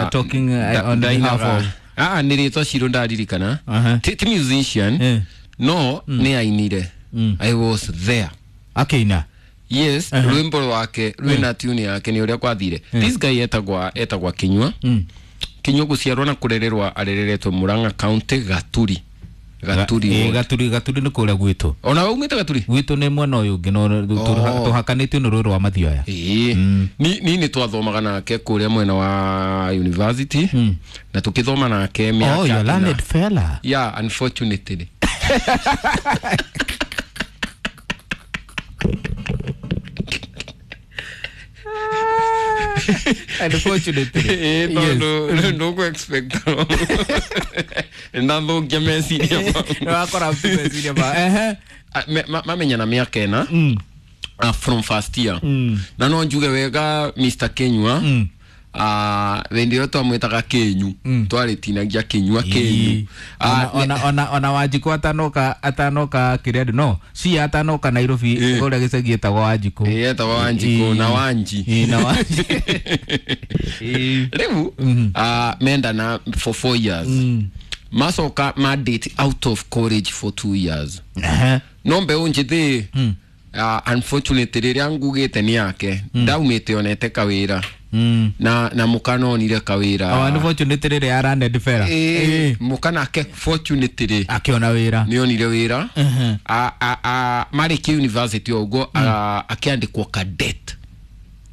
are talking on behalf of nä rä twa Ciro ndaririkana. Ti musician, no nä ainire. I was there. Akĩina. Yes, rwimbo rwake rwina tune yake ni uria kwathire. This guy etagwa Kinyua. Kinyua guciarwo na kurererwa arereretwo Murang'a County, Gaturi. Gaturi. Gaturi, Gaturi nĩ kũrĩa gwitũ. Ona waumĩte Gaturi? Gwitũ nĩ mwena ũyũ ũngĩ, no tũhakanĩtio nĩ rũĩ rwa Mathioya. Ni nĩ twathomaga nake kũrĩa mwena wa university na tũkĩthoma nake mĩaka. Oh, you're learned fella. Yeah, unfortunately. Unfortunately. No, no expect. Ndathukia meciria. Wakora meciria ma. Mamenya na mĩaka ĩna from first year. Na no njuge wega Mr. Kinyua. Wendi ĩyo twamwĩtaga Kĩnyu. Twarĩtinagia Kinyua Kĩnyu. Ona Wanjikũ atanoka kĩrĩa no si atanoka Nairobi kũrĩa gĩcagi etagwo Wanjikũ. Etagwo Wanjikũ na Wanji. Na Wanji. Rĩu mendana for 4 years. Macoka ma date out of college for 2 years. No mbeũ njĩthĩ, unfortunately rĩrĩa ngugĩte nĩ yake ndaumĩte onete kawĩra. Na mũka onire kawĩra. Unfortunately rĩrĩa araned fella. Mũka nake fortunately akĩona wĩra. Nĩ onire wĩra. Marĩkia university ũguo akĩandĩkwo cadet.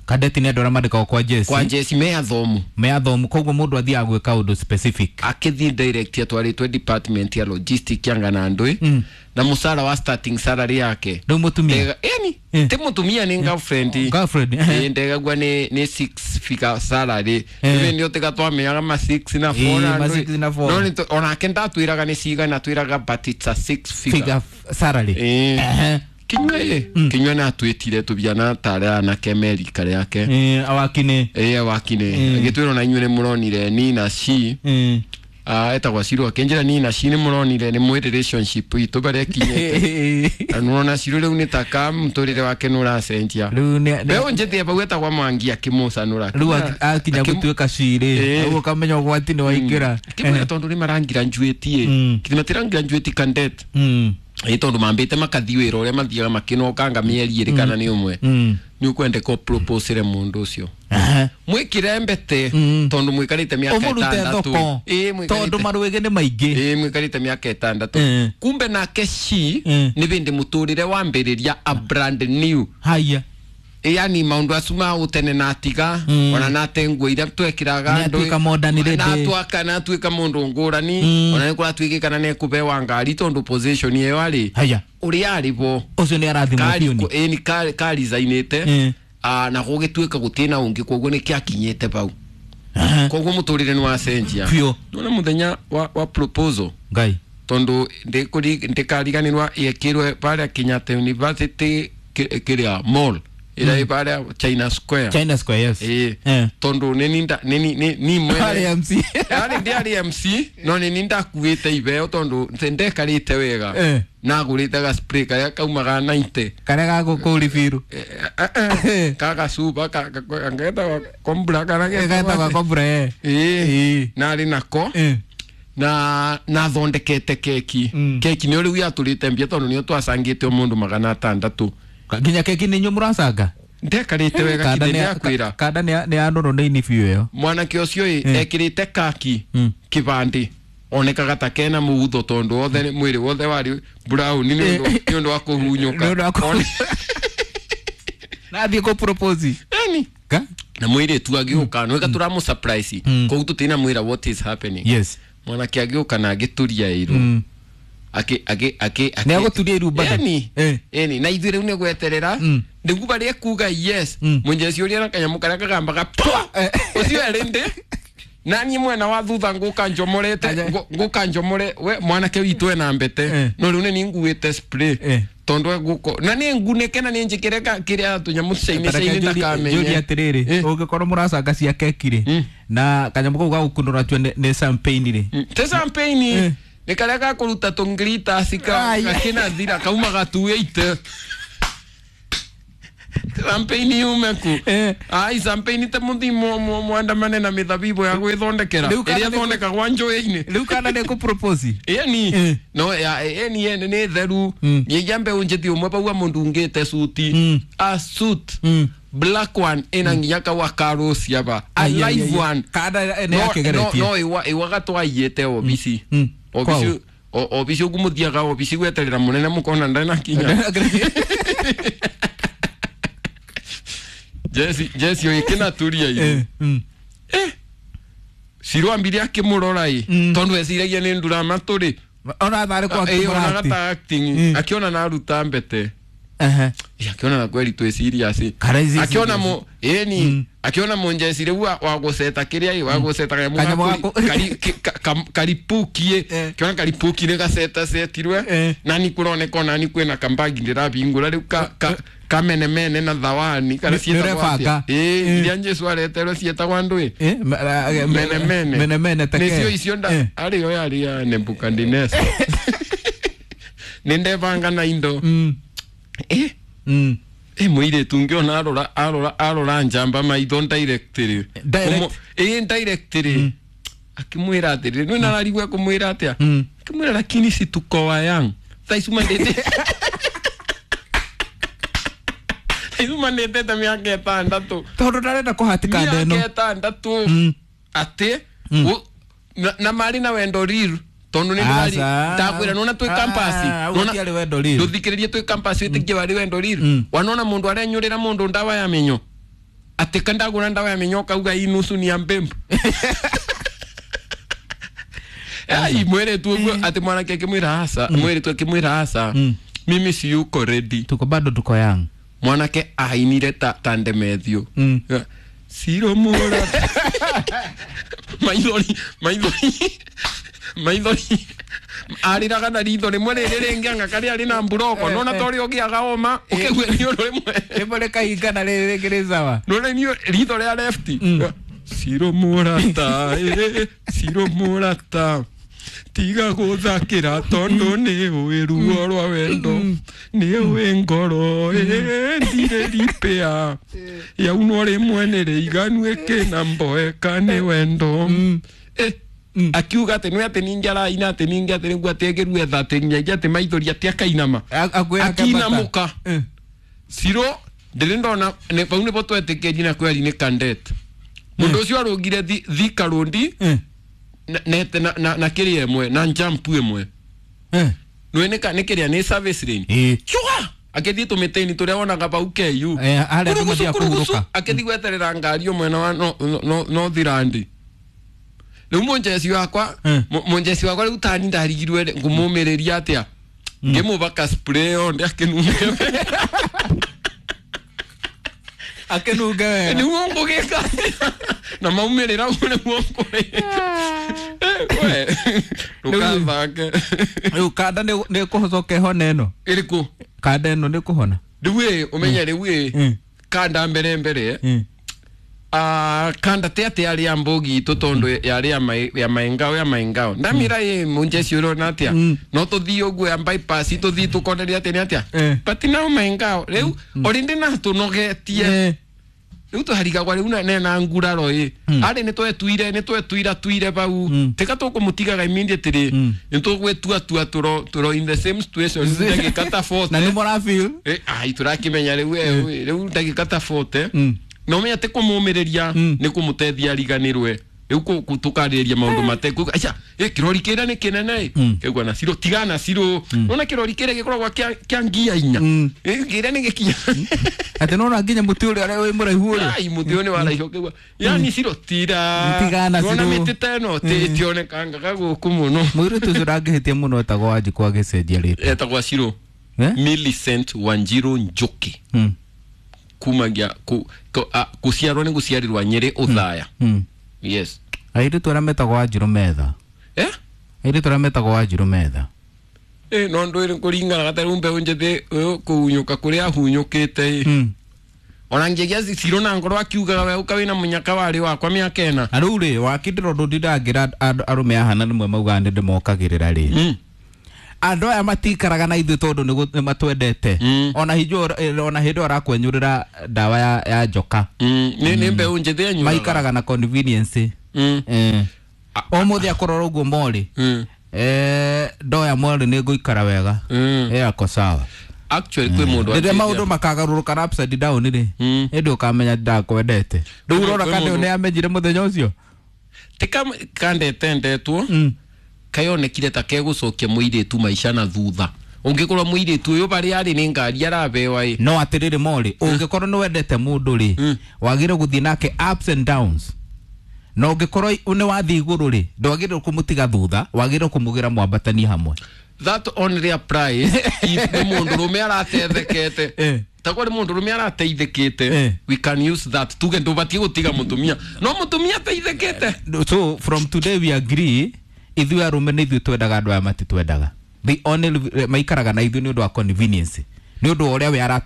Cadet nĩ andũ arĩa mandĩkagwo kwa jesi. Kwa jesi me athomu. Me athomu, koguo mũndũ athiaga gwĩka ũndũ specific. Akĩthiĩ direct atwarĩtwo department ya logistic ya Ng'anandũ na mũcara wa starting salary yake. Rĩu mũtumia. Yani ti mũtumia nĩ girlfriend. Girlfriend. Ndegagua nĩ 6 figure salary. Rĩu nĩ ũtiga twamenyaga ma 6 na 4 ma 6 na 4. No onake ndatwĩraga nĩ cigana, twĩraga but it's a 6 figure salary. Kinyua Kinyua nĩ atwĩtire tũbiana tarĩ anake merika rĩake. Awakine. Awakine. Agĩtwĩra ona inyuĩ nĩ mũronire ni na she. Etagwo Ciro akĩnjĩra ni na she nĩ mũronire nĩ mwĩ relationship itũ barĩa ĩkinyĩte. Na nĩwona Ciro rĩu nĩ ta ka mũtũrĩre wake nĩ ũracenjia. Mbeũ njĩthĩ bau etagwo Mwangi akĩmũcanũra. Rĩu akinya gũtuĩka cirĩ. Ũguo ũkamenya ũgwati nĩ waingĩra. Akĩmwĩra tondũ nĩ marangiranjuĩtie. Kĩrĩ matirangiranjuĩti cadet. Tondũ mambĩte makathiĩ wĩra ũrĩa mathiaga makĩnokanga mĩeri ĩrĩ kana nĩ ũmwe. Nĩ ũkwendeka ũproposere mũndũ ũcio. Mwĩkĩre mbete tondũ mwĩkarĩte mĩaka ĩtandatũ. Tondũ marwĩgĩ nĩ maingĩ. Mwĩkarĩte mĩaka ĩtandatũ. Kumbe nake she nĩ bĩndĩ mũtũrĩre wambĩrĩria a brand new. Haya. Yani maũndũ acu ma ũtene na atiga ona nate nguo iria twekĩraga andũ na atuĩka mũndũ ngũrani ona nĩ kũratuĩkĩ kana nĩ ekũbewa ngari tondũ position ĩyo arĩ ũrĩa arĩ bo ũcio nĩ arathimwo biũ ni karizainĩte na gũgĩtuĩka gũtirĩ na ũngĩ koguo nĩ kĩakinyĩte bau koguo mũtũrĩre nĩ wacenjia. Nĩwona mũthenya wa proposal Ngai tondũ ndĩkariganĩrwa yekĩrwe barĩa Kenyatta University kĩrĩa mall ila pale China Square. China Square, yes. Tondu ni mwene MC. Ari ndi MC no ni ndakuite ibeo tondu ndekarite wega. Nagurite ga spray karia kaumaga 90. Karia ga gukuri biru. Kaga suba ka ngeta kombra kana getagwo kombra. Nari nako. Na nathondekete keki. Keki ni riu yaturite mbia tondu ni twacangite mundu 600. Nginya keki nĩ inyuĩ mũracanga? Ndekarĩte wega kithĩ nĩakwĩra. Kanda nĩ anũrũ nĩ ini biũ ĩyo. Mwanake ũcio ĩ ekĩrĩte kaki kĩbandĩ onekaga ta kena mũgutho tondũ wothe mwĩrĩ wothe warĩ brown nĩ ũndũ wa kũhunyũka. Na athiĩ kũ propose. Yani na mũirĩtu agĩũka nĩwega tũramũ surprise koguo tũtinamwĩra what is happening. Yes. Mwanake agĩũka na agĩturia iru. Ake nĩ agũturia iru bado. Yani na ithuĩ rĩu nĩ gweterera nĩguo barĩa kuga yes mũnjeci ũrĩa na kanyamũ karĩa kagambaga pwa ũcio arĩ ndĩ na niĩ mwena wa thutha ngũka njomorete ngũka njomore we mwanake witũ ena mbete no rĩu nĩ nguĩte spray tondũ ngũko na nĩ ngunĩke na nĩ njĩkĩre kĩrĩa tũnyamũ cainĩ ndakamenye. Njũrie atĩrĩrĩ ũngĩkorwo mũracanga cia keki rĩ na kanyamũ kau ga gũkunũra tue nĩ champagne rĩ te champagne nĩ karĩa ga kũruta tũnglita gakĩnathira kaumaga 280. Champagne yume ku. Ai champagne te muthimo mwandamane na mithabibo ya gwithondekera. Iria thondekagwa njũĩ-inĩ. Riu kana nĩ kũ propose. Ĩni no ya ĩni ene nĩ theru. Nyeja mbeũ njĩthi ũmwe paua mũndũ ungĩte suti. A suit. Black one ina nginya kawa karosi aba. A live one. Kada ene yakegeretie. No iwa iwa gatwaiyete obisi. Obisi obisi ogumuthiaga obisi gweterera munene mukona ndana kinya. Jesse oikina turia iru. Ciro ambire akimurora i tondu eciragia ni ndura maturi. Ona thare kwa ona gata acting akiona na aruta mbete. Akiona na kweli twi serious. Akiona mo eni akiona munjeci riu wa guceta kiria wa guceta kanyamu karipukie kiona karipuki ni gaceta cetirwe na ni kuroneka ona ni kwina kambagi ndirabingura riu kamene mene na thawani kana cietagwo atia iria Jesu areterwo cietagwo andu mene mene mene mene take nicio icio nda ari yo yari ya Nebukadnezar nindebanga na indo muiretu ngiona arora arora arora njamba maitho directly directly akimwira atiriri nwi nararigwe kumwira atia akimwira lakini si tuko wa yang thaicuma ndete thaicuma ndetete miaka ĩtandatũ tondu ndarenda kũhatika ndeno miaka ĩtandatũ ati na mari na wendo riru tondu ni ndari ndakwira nona twi campus nona ari wendo riru nduthikiririe twi campus witikie wari wendo riru wanona mundu arenyurira mundu ndawa ya minyo ati kandagura ndawa ya minyo kauga inusu ni ya mbembe ai mwere tu ati mwanake akimwira asa mwere tu akimwira asa mimi si yuko ready tuko bado tuko young mwanake ainire ta tandemethio siro mura maithori maithori maithori ariraga na ritho rimwe riri ringi anga karia ari na mburoko nona tori ugiaga oma ukigwe ni undu rimwe rimwe rikaingana riri ringi ri sawa nona ni ritho ria left siro murata siro murata tiga guthakira tondu ni ui ruo rwa wendo ni ui ngoro ndire ripea yaunwo rimwe ni riiganu ikina mboeka ni wendo akiuga ati nä atä ningä araina atä ningä atä nĩguo atä ägä etha atä nginyagia atä maithori atä akainama akinamuka ciro ndä ndona pau nä bo twetä kä ri na kweri nä kandet må ndå å cio arå ngire thika rå na kä rä ĩmwe na njampu ĩmwe nä kä rä a nä service lane cua akĩthiĩ tũmĩtĩni tũrĩa wonaga pau KU akĩthiĩ gweterera ngari mwena wa North Riu munjeci wakwa munjeci wakwa riu tani ndarigirwe ngumumiria atia ngimubaka spray onde akinunge akinunge wega ni uongo gika na maumirira niguo ngũgĩka we ndukathake riu kanda nĩ kũhocoka ĩhone ĩno ĩrĩkũ kanda ĩno nĩ kũhona riu ĩ ũmenye riu ĩ kanda mbere mbere kanda te ate ari ambogi itu tondu yari ya maengao ya maengao ndamira ye munjeci urona atia no tuthii uguo ya bypass tuthii tukoneria atia ni atia but now maengao riu orindi na tunogetie riu tuharigagwa riu na nguraro i ari ni twetuire ni twetuira tuire pau tika tukumutigaga immediately ni tugwetua tua turo in the same situation ndagika ta 40 na ni mora feel ai turakimenya riu riu ndagika ta 40 no menya te kumumireria ni kumutethia riganirwe riu tukariria maundu mateku acha kirori kira ni kinene kigwa na ciro tigana ciro nona kirori kira gikoragwa kia ngia inya kira ni gikinya ate nona nginya muti uria wi muraihu uria ai muti ni waraihu kigwa yani ciro tira tigana ciro nona miti teno tionekangaga guku muno muiritu ucio ndangĩhĩtia mũno etagwo Wanjikũ agĩcenjia rĩtwa etagwo Ciro Millicent Wanjiru Njoki kumagia kuciarwo ni guciarirwa Nyeri Uthaya yes airitu aria metagwo Wanjiru metha airitu aria metagwo Wanjiru metha no ndwire kuringana gataru mbeu njithi kuhunyuka kuria ahunyukite ona ngiagia Ciro na ngoro akiugaga we uka wina munyaka wari wakwa miaka ena na riu ri wakindira undu ndindangira arume ahana nimwe maugaga ni ndimokagirira ri Andũ aya matikaraga na ithuĩ tondũ nĩ matwendete. Ona hinjo ona hĩndĩ ĩyo arakwenyũrĩra ndawa ya njoka. Nĩ mbeũ njĩthĩ enyuaga. Maikaraga na convenience. Ũmũthĩ akũrora ũguo morĩ. Ndoya morĩ nĩ ngũikara wega. Ako sawa. Actually kwĩ mũndũ Rĩrĩa anjĩtie- maũndũ makagarũrũka na upside down rĩ, ĩndĩ ũkamenya ndakwendete. Rĩu ũrona Kwĩ kana mũndũ- nĩ amenyire mũthenya ũcio. Ti kandete ndetwo kayonekire ta kegũcokia mũirĩtu maica na thutha ũngĩkorwo mũirĩtu ũyũ barĩa arĩ nĩ ngari arabewa ĩ. No atĩrĩrĩ morĩ, ũngĩkorwo nĩ wendete mũndũ rĩ, wagĩrĩirwo gũthiĩ nake ups and downs. Na ũngĩkorwo nĩ wathiĩ igũrũ rĩ, ndwagĩrĩirwo kũmũtiga thutha, wagĩrĩirwo kũmũgĩra mwambatanie hamwe. That only applies if nĩ mũndũrũme aratethekete. Takorwo nĩ mũndũrũme arateithĩkĩte, we can use that tuge ndũbatiĩ gũtiga mũtumia no mũtumia ateithĩkĩte. So from today we agree, ithuĩ arũme nĩ ithuĩ twendaga, andũ aya matitwendaga. They only maikaraga na ithuĩ nĩ ũndũ wa convenience, nĩ ũndũ wa ũrĩa we ara